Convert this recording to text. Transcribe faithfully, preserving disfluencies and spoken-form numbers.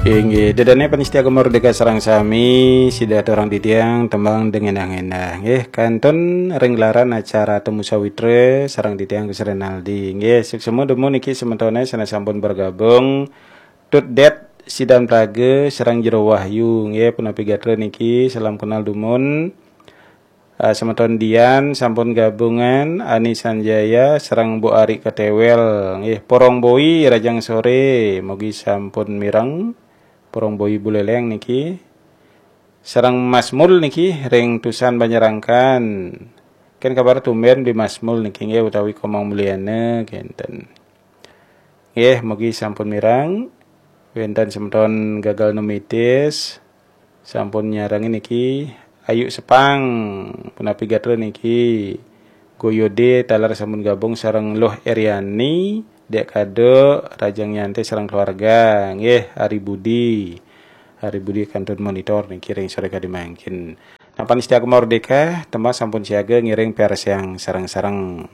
Inggih, dedane panitia Gema Merdeka sareng sami, sida aturang titiang tembang dengenah-ngenah. Nggih, kantun ring gelaran acara Temu Sawitra sareng titiang Gus Renaldi. Nggih, suksma dumun niki semetone sane sampun bergabung. Tut Det Sidan Praga sareng Jero Wahyu. Nggih, punapi gatra niki, salam kenal dumun. Ah, semeton Dian sampun gabungan, Ani Sanjaya sareng Bu Ari Ketewel. Nggih, Porong Boi rajang sore, mugi sampun mireng. Porong Boi Buleleng niki. Sareng Mas Mul niki ring Tusan Banjarangkan. Ken kabar tumben Bi Mas Mul niki nggih utawi Komang Mulyana kenten. Nggih, mugi sampun mireng. Wenten semeton Gagal Numitis sampun nyarengin niki. Ayu Sepang, punapi gatra niki. Goyode taler sampun gabung sareng Luh Eriani, Dek Kado, Rajang Nyantai sareng keluarga. Nggih, Ari Budi. Ari Budi kantun monitor niki ring sore kadi mangkin. Nah, panitia Gema Merdeka, tembang sampun siaga ngiring piarsayang sareng-sareng.